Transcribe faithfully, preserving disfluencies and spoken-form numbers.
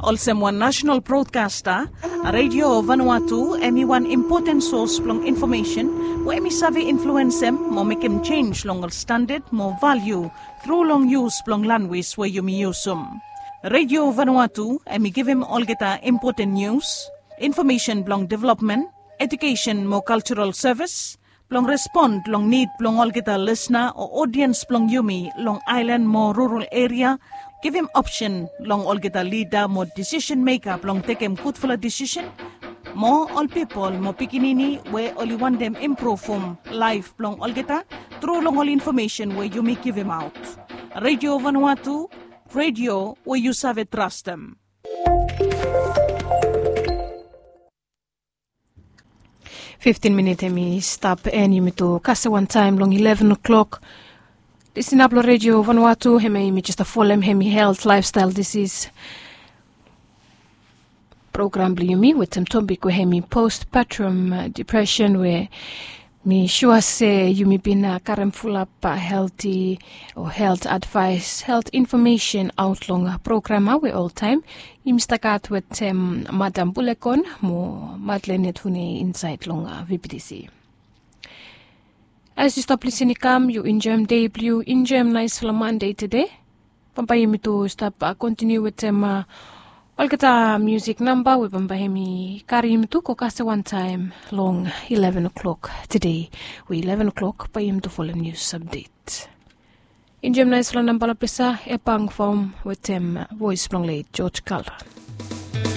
Olsem wan nasenal brodkasta, Redio Vanuatu em i wan impoten sos blong infomesen we em i save influensem mo mekem jenj long ol standad mo valiu tru long yus blong lanwis we yumi yusum. Redio Vanuatu em i givim olgeta impoten nius, infomesen blong developmen, ejukesen mo kaljaral sevis, blong respon long nid blong olgeta lisna o odiens blong yumi long aelan mo rural eria, givim opsen long olgeta lida mo disisen meka blong tekem gudfala disisen, mo ol pipol mo pikinini we oli wantem impruvum laef blong olgeta tru long ol infomesen we yumi givimaot. Redio Vanuatu, redio we yu save trastem. Fiftin minit hem i stap en yumi tu kasem wantaem long ileven o'klok. Disinap long Redio Vanuatu hemia yumi jes folem hem i helt laefstael disis program blong yumi wetem topik we hem i postpartum depresen we mi sua se yumi bin karem fulap helti o helt advaes helt infomesen aot long program ya we oltaem yumi stap gat wetem Madam Bulekon mo Madlen Etune insaed long VBTC. As yu stap lisin i kam yu enjoem dei blong yu, enjoem naesfala Mande tede. Bambae yumi tu stap kontiniu wetem olgeta musik namba we bambae hem i karim yumi tu go kasem wantaem long ileven o'klok tede, we ileven o'klok bae yumi tu folem nius apdet. Enjoem naesfala namba long ples ya, Epang Fom wetem voes blong let George Kalra.